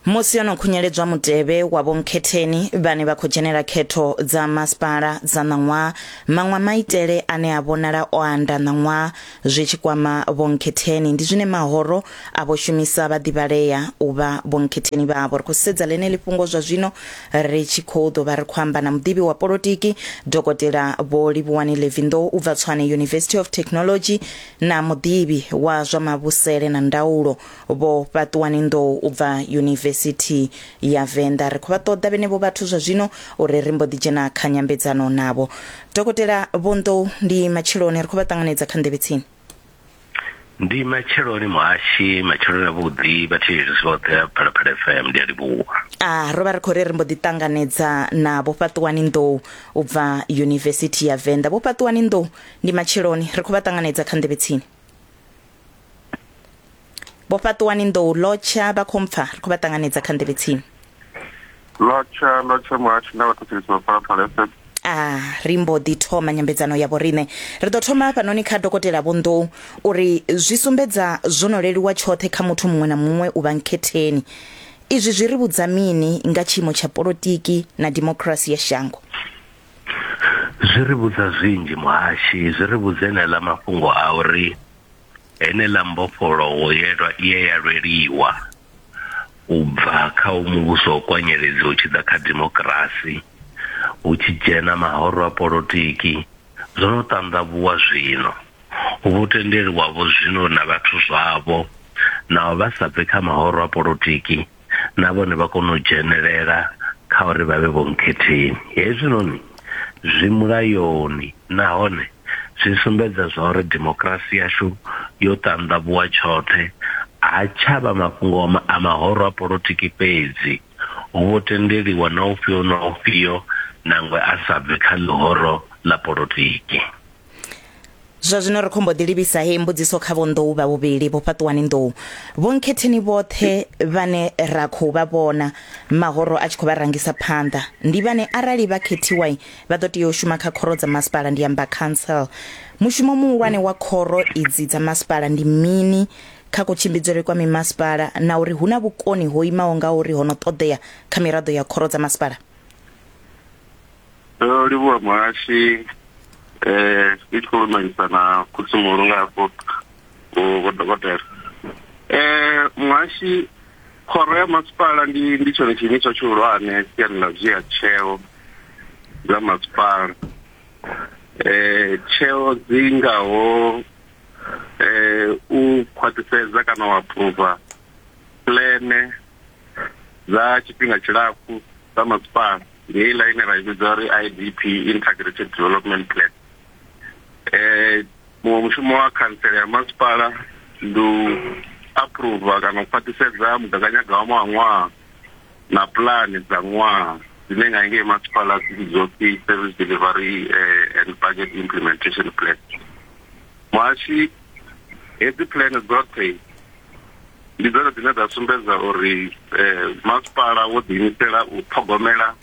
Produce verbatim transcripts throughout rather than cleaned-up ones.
Musi yo no khunyeledzwa mutevhe wa vhonkhetheni vhane vha khou dzhenela khetho dza masipala dza ṋaṅwaha, maṅwe maitele ane a vhonala o anda ṋaṅwaha zwi tshi kwama vhonkhetheni ndi zwine mahoro a vho shumisa vhaḓivhalea u vha vhonkhetheni vhavho. Ri khou sedza ḽeneḽi fhungo zwa zwino ri tshi khou ḓo vha ri khou amba na muḓivhi wa polotiki Dokotela Vho Livhuwani Levy Ndou u bva Tshwane University of Technology na muḓivhi wa zwa mavhusele na ndaulo Vho Fhaṱuwani Ndou u bva University ya Venḓa. Ri khou vha ṱoḓa vhenevho vhathu zwa zwino uri ri mbo ḓi dzhena kha nyambedzano navho. Dokotela Vho Ndou, ndi matsheloni, ri khou vha ṱanganedza kha Nḓevhe Tsini. Ndi matsheloni muhashi, matsheloni avhuḓi vhathetshelesi vhoṱhe a Phalaphala F M, ndi a livhuwa. Ah, ro vha ri khou ri ri mbo ḓi ṱanganedza na Vho Fhaṱuwani Ndou u bva University ya Venḓa. Vho Fhaṱuwani Ndou, ndi matsheloni, ri khou vha ṱanganedza kha Nḓevhe Tsini. Vho Fhaṱuwani Ndou, lotsha vha khou mpfa, ri khou vha ṱanganedza kha Nḓevhe Tsini. Lotsha, lotsha muhashi na vhathetshelesi vha Phalaphala F M. Ah, ri mbo ḓi thoma nyambedzano ya vhoriṋe. Ri ḓo thoma hafhanoni kha Dokotela Vho Ndou uri zwi sumbedza zwo no leluwa tshoṱhe kha muthu muṅwe na muṅwe u vha nkhetheni. Izwi zwi ri vhudza mini nga tshiimo tsha polotiki na democracy ya shango? Zwi ri vhudza zwinzhi muhashi, zwi ri vhudza enela mafhungo a uri henela mbofholowo ye ya lweliwa u bva kha u muvhuso wa kwanyeledzi u tshi ḓa kha democracy, hu tshi dzhena mahoro a polotiki, zwo no ṱanḓavhuwa zwino. Hu vho tendeliwa vho zwino na vhathu zwavho, naho vha sa bve kha mahoro a polotiki, na vhone vha kona u dzhenelela kha uri vha vhe vhonkhetheni. Hezwinoni zwi mulayoni nahone zwi sumbedza zwa uri democracy yashu yo ṱanḓavhuwa tshoṱhe, a tsha vha mafhungo a mahoro a polotiki fhedzi, hu vho tendeliwa na ufhio na ufhio nangwe a sa bve kha ḽihoro ḽa polotiki. Zwa zwino ri khou mbo ḓi livhisa hei mbudziso kha Vho Ndou vha vhuvhili, Vho Fhaṱuwani Ndou. Vho nkhetheni vhoṱhe vhane ra khou vha vhona mahoro a tshi khou vha rangisa phanḓa ndi vhane arali vha khethiwa vha ḓo tea u shuma kha khoro dza masipala, ndi amba council. Mushumo muhulwane wa khoro idzi dza masipala ndi mini kha kutshimbidzele kwa mimasipala, na uri hu na vhukoni ho imaho nga uri ho no ṱoḓea kha miraḓo ya khoro dza masipala? Ndo livhuwa muhashi, eh ndi tshi khou lumelisa na khotsi-muhulu nga hafho vho dokotela. Eh muhashi, khoro ya masipala ndi ndi tshone tshiimiswa tshihulwane siani ḽa dzhia tsheo dza masipala. Eh tsheo dzi ngaho eh u khwaṱhisedza kana u approva plane dza tshifhinga tshilapfu dza masipala, ndi heiḽa ine ra i vhidza uri I D P, Integrated Development Plan. Eh muṅwe mushumo wa khantsela ya masipala ndi u approva kana u khwaṱhisedza mugaganyagwama wa ṅwaha na pulani dza ṅwaha dzine nga ngei masipala dzi vhidzwa upfi Service Delivery and Budget Implementation Plan. Muhashi, hedzi plan dzoṱhe ndi dzone dzine dza sumbedza uri masipala wo ḓiimisela u ṱhogomela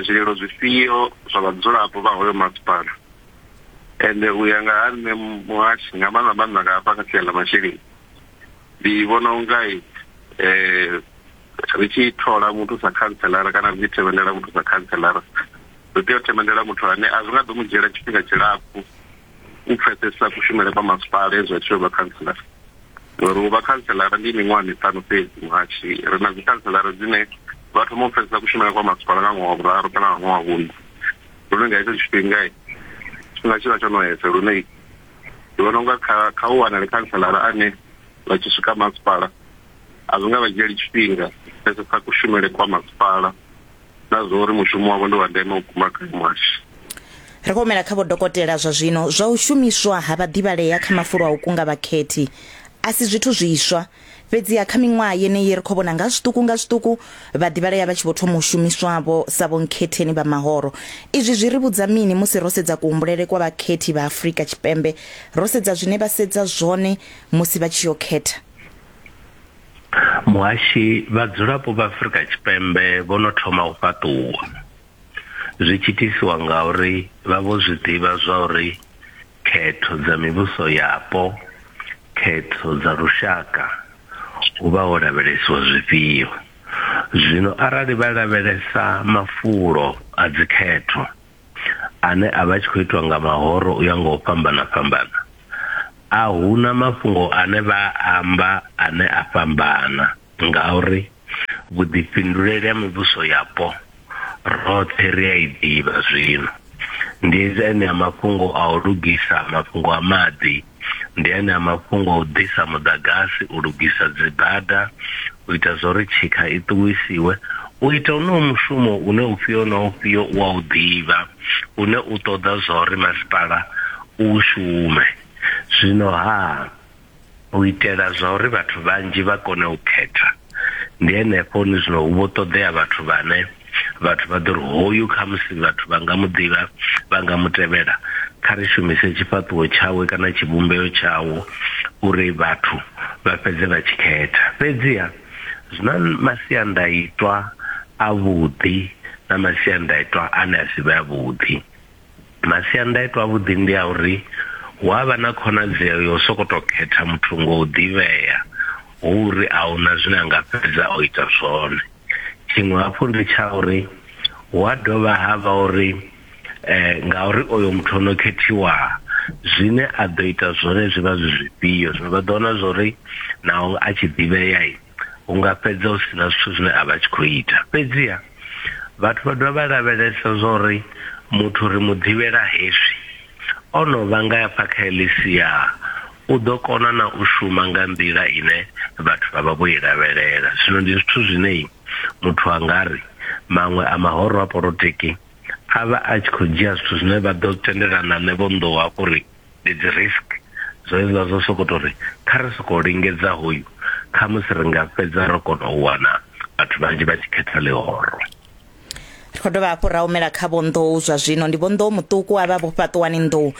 zwililo zwifhio zwa vhadzulapo vha hoyo masipala. Ende u ya nga ha nṋe muhashi, nga maanḓa maanḓa nga hafha kha sia ḽa masheleni, ndi vhona unga eh ri tshi thola muthu sa khantselara kana ri tshi themendela muthu sa khantselara, ri tea u themendela muthu ane a zwi nga ḓo mu dzhiela tshifhinga tshilapfu u pfesesa kushumele kwa masipala hezwi a tshi yo vha khantselara. Ngori u vha khantselara ndi miṅwaha miṱanu fhedzi muhashi, ri na dzi khantselara dzine vha thoma u pfesesa kushumele kwa masipala nga ṅwaha wa vhuraru kana nga ṅwaha wa vhuṋa, lune nga hetsho tshifhinga tshifhinga tshi vha tsho no esa, lune ndi vhona unga kha kha u wanale khantselara ane vha tshi swika masipala a zwi nga vha dzhieli tshifhinga pfesesa kushumele kwa masipala na zwa uri mushumo wavho ndi wa ndeme u guma kha muhashi. Ri khou humela kha vho dokotela zwa zwino. Zwa u shumiswa ha vhaḓivhalea kha mafulo a u kunga vhakhethi a si zwithu zwiswa, fhedziha kha miṅwaha yeneyi ri khou vhona nga zwiṱuku nga zwiṱuku vhaḓivhalea vha tshi vho thoma u shumiswavho sa vhonkhetheni vha mahoro. Izwi zwi ri vhudza mini musi ro sedza kuhumbulele kwa vhakhethi vha Afrika Tshipembe, ro sedza zwine vha sedza zwone musi vha tshi yo khetha? Muhashi, vhadzulapo vha Afrika Tshipembe vho no thoma u fhaṱuwa, zwi tshi itisiwa ngauri vha vho zwi ḓivha zwa uri khetho dza mivhuso yapo, khetho dza lushaka hu vha ho lavhelesiwa zwifhio. Zwino arali vha lavhelesa mafulo a dzikhetho ane a vha tshi khou itwa nga mahoro u ya nga u fhambana fhambana, a huna mafhungo ane vha amba ane a fhambana, ngauri vhuḓifhinduleli ha mivhuso yapo roṱhe ri a i ḓivha. Zwino ndi ene a mafhungo a u lugisa mafhungo a maḓi, ndi ene a mafhungo a u ḓisa muḓagasi, u lugisa dzibada, u ita zwa uri tshikha i ṱuwisiwe, u ita uno mushumo une ufhio na ufhio u a u ḓivha, une u ṱoḓa zwa uri masipala u shume. Zwino ha u itela zwa uri vhathu vhanzhi vha kone u khetha, ndi henefho ni zwino hu vho ṱoḓea vhathu vhane vhathu vha ḓo ri hoyu khamusi vhathu vha nga mu ḓivha, vha nga mu tevhela, kha ri shumise tshifhaṱuwo tshawe kana tshivhumbeo tshawo uri vhathu vha fhedze vha tshi khetha. Fhedziha zwina masiandaitwa avhuḓi na masiandaitwa ane a si vhe avhuḓi. Masiandaitwa avhuḓi ndi a uri hu a vha na khonadzeo yo sokoto khetha muthu ngo u ḓivhea, hu uri a huna zwine a nga fhedza o ita zwone. Tshiṅwe hafhu ndi tsha uri hu a dovha ha vha uri eh, ngauri oyo muthu ono khethiwa zwine a ḓo ita zwone zwi vha zwi zwifhio. Zwino vha ḓo wana zwa uri naho a tshi ḓivhea hu nga fhedza hu sina zwithu zwine a vha tshi khou ita. Fhedziha vhathu vha dovha vha lavhelesa zwa uri muthu ri mu ḓivhela hezwi, o no vha nga hafha kha heḽi sia u ḓo kona na u shuma nga nḓila ine vhathu vha vha vho i lavhelela. Zwino ndi zwithu zwine muthu a nga ri maṅwe a mahoro a polotiki a vha a tshi khou dzhia zwithu zwine vha ḓo tendelana nṋe vho nḓou hafho uri ndi dzi risk, zwo hezwiḽa zwo sokou uri kha ri sokou lingedza hoyu, khamusi ri nga fhedza ro kona u wana vhathu vhanzhi vha tshi khetha ḽihoro. Ri khou dovha hafhu ra humela kha Vho Nḓou zwa zwino. Ndi Vho Nḓou muṱuku avha Vho Fhaṱuwani Nḓou.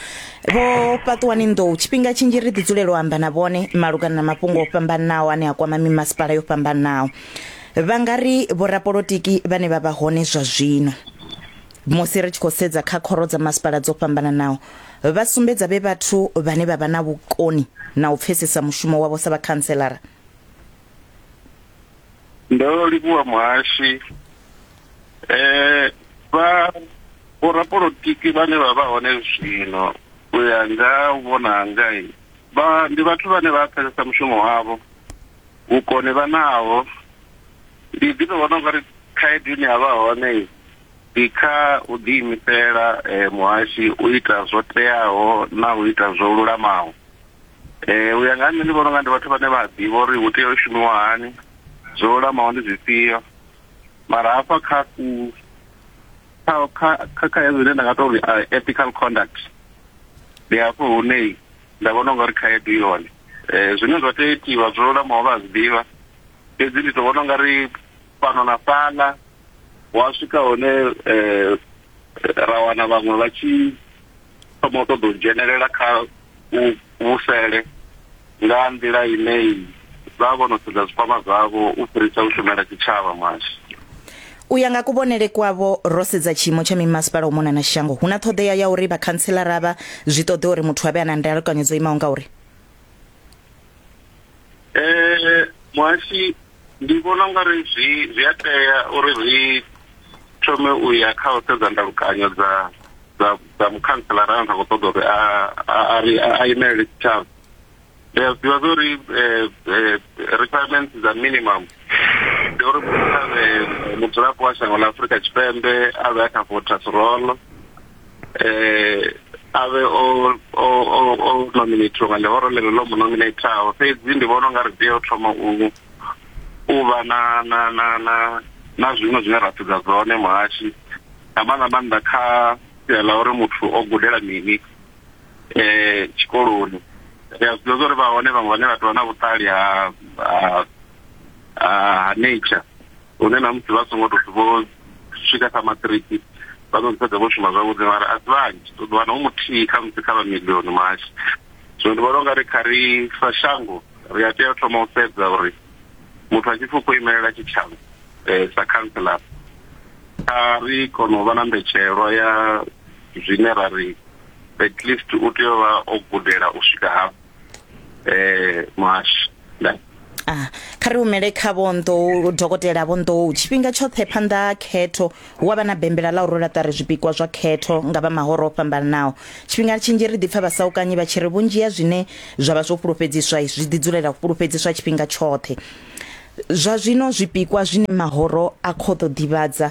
Vho Fhaṱuwani Nḓou, tshifhinga tshinzhi ri ḓi dzulela u amba na vhone malugana na mafhungo o fhambanaho ane a kwama mimasipala yo fhambanaho. Vha nga ri vhorapolotiki vhane vha vha hone zwa zwino, musi ri tshi khou sedza kha khoro dza masipala dzo fhambananaho, vha sumbedza vhe vhathu vhane vha vha na vhukoni na u pfesesa mushumo wavho sa vhakhantselara? Ndo livhuwa muhashi. Eh, vha vhorapolotiki vhane vha vha hone zwino u ya nga u vhona hanga, vha ndi vhathu vhane vha pfesesa mushumo wavho, vhukoni vha naho. Ndi ḓi to vhona ungari khaedu ine ya vha hone ndi kha u ḓiimisela eh, muhashi u ita zwo teaho na u ita zwo lulamaho. Eh, u ya nga nṋe ndi vhona unga ndi vhathu vhane vha ḓivha uri hu tea u shumiwa hani, zwo lulamaho ndi zwifhio. Mara hafha kha ku kha kha kha zwine nda nga to uri ethical conduct, ndi hafho hune nda vhona ungari khaedu i hone. Eh, zwine zwa tea itiwa zwo lulamaho vha zwi ḓivha, fhedzi ndi to vhona ungari fhano na fhaḽa wa swika hone eh, ra wana vhaṅwe vha tshi thoma u ṱoḓa u dzhenelela kha u vhusele nga nḓila ine vha vho no sedza zwikwama zwavho u fhirisa u shumela tshitshavha. Muhashi, u ya nga kuvhonele kwavho, ro sedza tshiimo tsha mimasipala u mona na shango, hu na ṱhoḓea ya uri vhakhantselara vha zwi ṱoḓe uri muthu a vhe a na ndalukanyo dzo imaho nga uri? Eh, muhashi, ndi vhona ungari zwi zwi a tea uri ri thome u ya kha u sedza ndalukanyo dza dza dza mukhantselara ane a khou ṱoḓa uri a a a imelele tshitshavha. Ndi a zwi ḓivha zwa uri requirements dza minimum ndi uri muthu a vhe mudzulapo wa shango ḽa Afrika Tshipembe, a vhe a kha voters roll, eh a vhe o o o nominatiwa nga ḽihoro ḽeḽo ḽo mu nominataho. Fhedzi ndi vhona unga ri tea u thoma u u vha na na na na na zwiṅwe zwine ra sedza zwone muhashi, nga maanḓa maanḓa kha sia ḽa uri muthu o gudela mini eh tshikoloni. Ri a zwi ḓivha uri vha hone vhaṅwe vhane vha tovha na vhuṱali ha ha nature, hune na musi vha songo tou vho swika kha maṱiriki vha ḓo fhedza vho shuma zwavhuḓi, mara a si vhanzhi, u ḓo wana hu muthihi kha musi kha vha milioni muhashi. Zwino ndi vhona ungari kha ri sa shango ri a tea u thoma u sedza uri muthu a tshi pfi u khou imelela tshitshavha eh, sa councillor, a ri kona u vha na mbetshelwa ya zwine ra ri at least u tea u vha o gudela u swika hafho eh muhashi. Ah, kha ri humele kha Vho Nḓou, dokotela Vho Nḓou. Tshifhinga tshoṱhe phanḓa ha khetho hu a vha na bembela ḽa u rwela ṱari zwipikwa zwa khetho nga vha mahoro o fhambananaho. Tshifhinga tshinzhi ri ḓipfa vhasaukanyi vha tshi ri vhunzhi ha zwine zwa vha zwo fhulufhedziswa zwi ḓi dzulela u fhulufhedziswa tshifhinga tshoṱhe. Zwa zwino zwipikwa zwine mahoro a khou ḓo ḓivhadza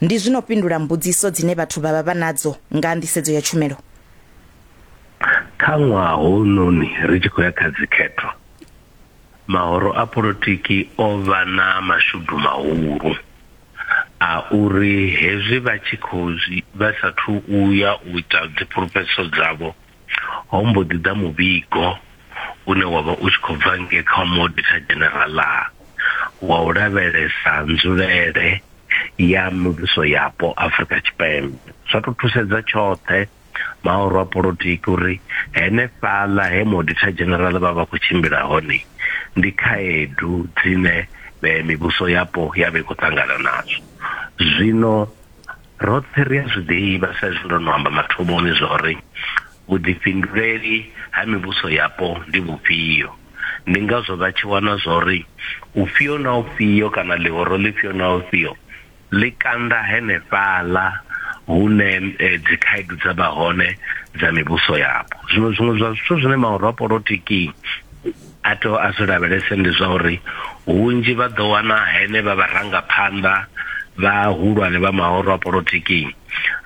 ndi zwino fhindula mbudziso dzine vhathu vha vha vha nadzo nga nḓisedzo ya tshumelo. Kha ṅwaha hounoni ri tshi khou ya kha dzikhetho, mahoro a polotiki o vha na mashudu mahulu a uri hezwi vha tshi khou vha sathu uya u ita dziphulufhedziso dzavho, ho mbo ḓi ḓa muvhigo une wa vha u tshi khou bva ngei kha Auditor General wa u lavhelesa nzulele ya mivhuso yapo Afrika Tshipembe. Zwa to thusedza tshoṱhe mahoro a polotiki uri henefhaḽa he Auditor General vha vha khou tshimbila hone ndi khaedu dzine mivhuso yapo ya vha i khou ṱangana nadzo. Zwino roṱhe ri a zwi ḓivha sa izwi ndo no amba mathomoni zwa uri vhuḓifhinduleli ha mivhuso yapo ndi vhufhio. Ndi ngazwo vha tshi wana zwa uri ufhio na ufhio kana ḽihoro ḽifhio na ufhio ḽi kanda henefhaḽa hune dzikhaedu dza vha hone dza mivhuso yapo. Zwino zwiṅwe zwa zwithu zwine mahoro a polotiki a tea a zwi lavhelese ndi zwa uri hunzhi vha ḓo wana hene vha vharangaphanḓa vhahulwane vha mahoro a polotiki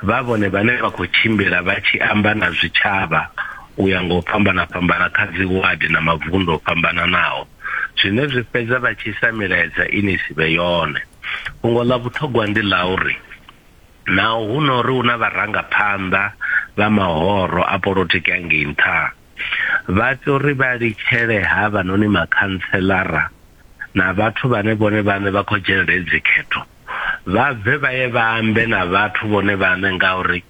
vha vhone vhane vha khou tshimbila vha tshi amba na zwitshavha u ya nga u fhambana fhambana kha dzi wadi na mavundu o fhambananaho, zwine zwi fhedza vha tshi isa milaedza ine si vhe yone. Fhungo ḽa vhuṱhogwa ndi ḽa uri naho hu no uri hu na vharangaphanḓa vha mahoro a polotiki angei nṱha, vha tea uri vha litshele havhanoni makhantselara na vhathu vhane vhone vhaṋe vha khou dzhenela hedzi khetho, vha bve vha ye vha ambe na vhathu vhone vhaṋe, ngauri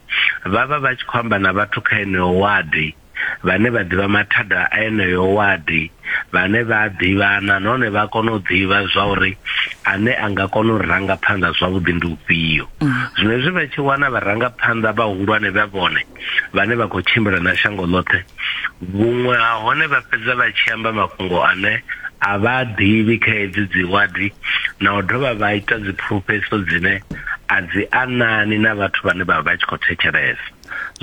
vha vha vha tshi khou amba na vhathu kha eneyo wadi vhane vha ḓivha mathada a eneyo wadi, vhane vha ḓivhana nahone vha kona u ḓivha zwa uri ane a nga kona u ranga phanḓa zwavhuḓi ndi ufhio. Zwino hezwi vha tshi wana vharangaphanḓa vhahulwane vha vhone vhane vha khou tshimbila na shango ḽoṱhe, vhuṅwe ha hone vha fhedza vha tshi amba mafhungo ane a vha ḓivhi kha hedzi dzi wadi, na u dovha vha ita dzi phulufhedziso dzine a dzi anani na vhathu vhane vha vha tshi khou thetshelesa.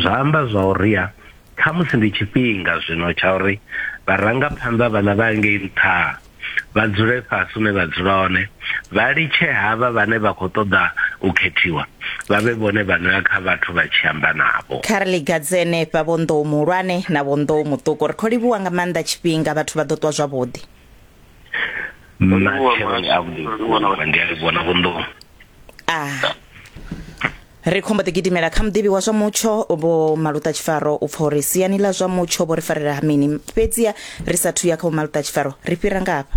Zwa amba zwa uri ya khamusi ndi tshifhinga zwino tsha uri vharangaphanḓa vhaḽa vha ngei nṱha vha dzule fhasi hune vha dzula hone, vha litshe havha vhane vha khou ṱoḓa u khethiwa vha vhe vhone vha no ya kha vhathu vha tshi amba navho. Kha ri ligadze henefha Vho Nḓou muhulwane na Vho Nḓou muṱuku. Ri khou livhuwa nga maanḓa tshifhinga, vhathu vha ḓo ṱwa zwavhuḓi. Matsheloni avhuḓi vhukuma, ndi a livhuwa na Vho Nḓou. Ah. Ri khombo ḓi gidimela kha muḓivhi wa zwa mutsho Vho Maluta Tshifaro u pfa uri siani ḽa zwa mutsho vho ri farela ha mini. Fhedziha ri sathu ya kha Vho Maluta Tshifaro ri fhira nga hafha.